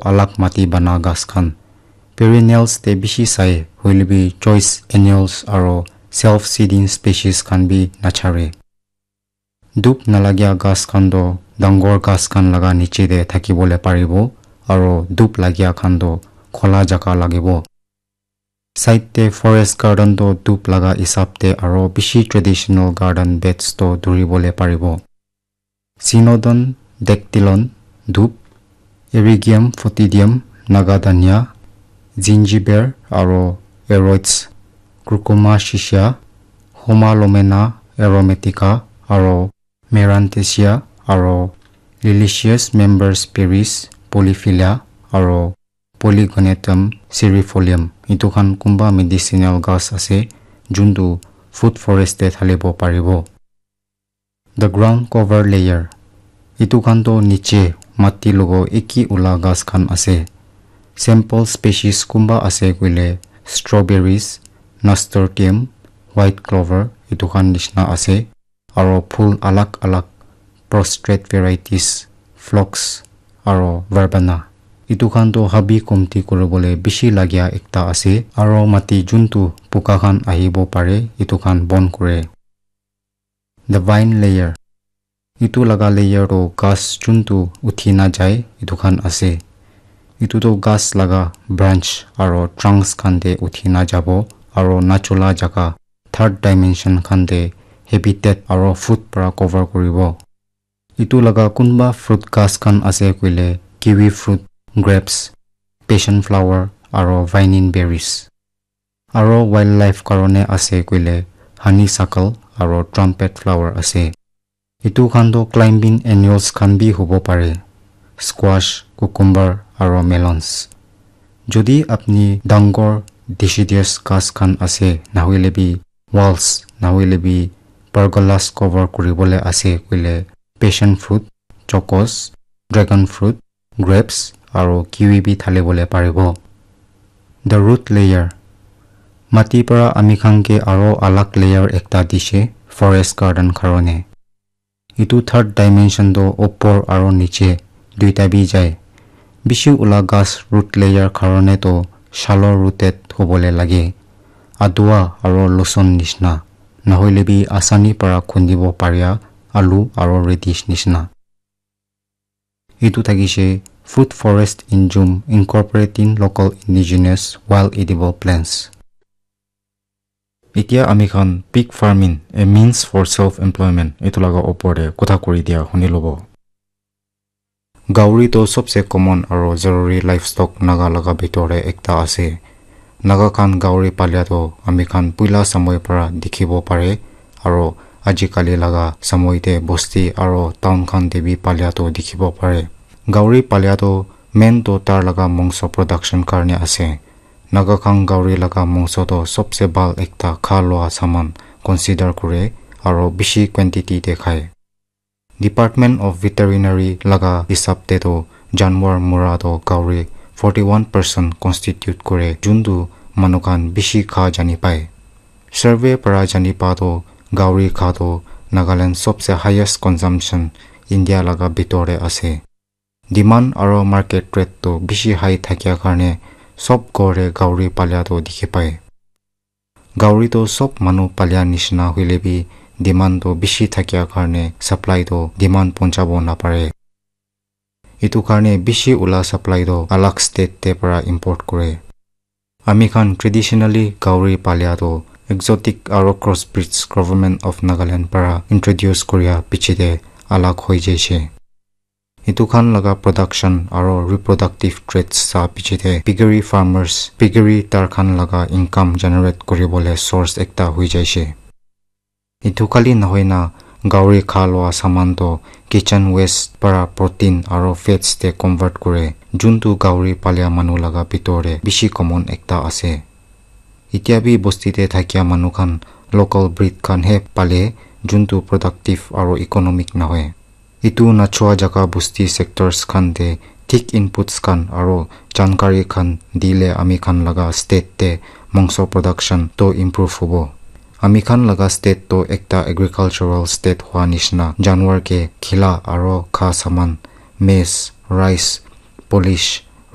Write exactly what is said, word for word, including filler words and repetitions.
alak mati bana ghas khan. Perennials te bishi sai, hoilebi choice annuals aro self-seeding species khan bi nachare. Dhub nalagia ghas khan toh dangor ghas khan laga niche te thakibole paribo, aro dhub lagia khan toh khola jaga lagibo. Side te forest garden toh dhub laga hisab te aro bishi traditional garden beds toh dhuribole paribo. Cynodon dactylon dhub, Ericium foetidum, Naga dhania, zingiber aro aroids, Curcuma siccia, Homalomena aromatica aro Maranthecia aro liliaceous membranous berries, Polyphylla aro Polygonatum cerefolium. Etu khan kunba medicinal ghas ase, juntu food forest te thalibo paribo. The ground cover layer. Etu khan toh niche mati logo eki ula ghas khan ase. Sample species kunba ase koile strawberries, nasturtium, white clover, etu khan nishina ase. Aro phul alak alak, prostrate varieties, phlox, aro verbena. Etu khan toh habi komti kuribole bishi lagia ekta ase. Aro mati juntu puka khan ahibo pare, etu khan bon kure. The vine layer. Etu laga layer toh ghas juntu uthi na jai, etu khan ase. Etu toh ghas laga branch aro trunks khan te uthi na jabo, aro nachola jaga, third dimension khan te habitat aro food para cover kuribo. Etu laga kunba fruit ghas khan ase koile kiwi fruit, grapes, passion flower aro vining berries. Aro wildlife karone ase koile honeysuckle aro trumpet flower ase. Etu khan toh climbing annuals khan bi hobo pare, squash, cucumber aro melons. Jodi apni dangor deciduous ghas khan ase, nahoile bi walls, nahoile bi pergolas cover kuribole ase koile passion fruit, chocos, dragon fruit, grapes aro kiwi bi thalibole paribo. The root layer. Mati para ami khan ke aro alag layer ekta dishe forest garden karone. Etu third dimension toh upor aro niche duita bi jai. Bishi ula ghas root layer karone toh shallow rooted hobole lage. Adua aro loson nishna. Nahoile bi asani para khundibo paria alu aro radish nishna. Etu thakishe Food Forest Injum, incorporating local indigenous wild edible plants. Etia ami khan pig farming, a means for self employment, etu laga opor te kotha kuri dia huni lobo. Gauri toh sobse common aro zaruri livestock Naga laga bitor te ekta ase. Naga khan gauri palia toh ami khan puila samoi para dikhibo pare, aro ajikali laga samoi te bosti aro town khan te bi palia toh dikhibo pare. Gauri palia toh main toh tar laga mongso production karne ase. Naga khan gauri laga mongso toh sobse bhal ekta kha lua saman consider kure aro bishi quantity te khai. Department of Veterinary laga hisab te toh janwar mura toh gauri forty one percent constitute kure, juntu manu khan bishi kha jani pai. Survey para jani pa toh gauri kha toh Nagaland sobse highest consumption India laga bitor te ase. Demand aro market rate toh bishi high thakia karne sob ghor te gauri palia toh dikhi pai. Gauri toh sob manu palia nishina hoile bi demand toh bishi thakia karne supply toh demand ponchabo napare. Etu karne bishi ula supply toh alag state te para import kure. Ami khan traditionally gauri palia toh exotic aro crossbreeds Government of Nagaland para introduce kuria piche te alag hoi jaise. Etu khan laga production aro reproductive traits sa piche te piggery farmers, piggery tar khan laga income generate kuribole source ekta hoi jaise. Etu khali nohoi na gauri kha lua saman toh kitchen waste para protein aro fats te convert kure, juntu gauri palia manu laga bitor te bishi common ekta ase. Etia bi bosti te thakia manu khan local breed khan he pale, juntu productive aro economic nohoi. Etu nachua jaga bosti sectors khan te thik inputs khan aro jankari khan dile ami khan laga state te mongso production toh improve hobo. Ami khan laga state toh ekta agricultural state hua nishina, janwar ke khila aro kha saman, maize, rice, polish,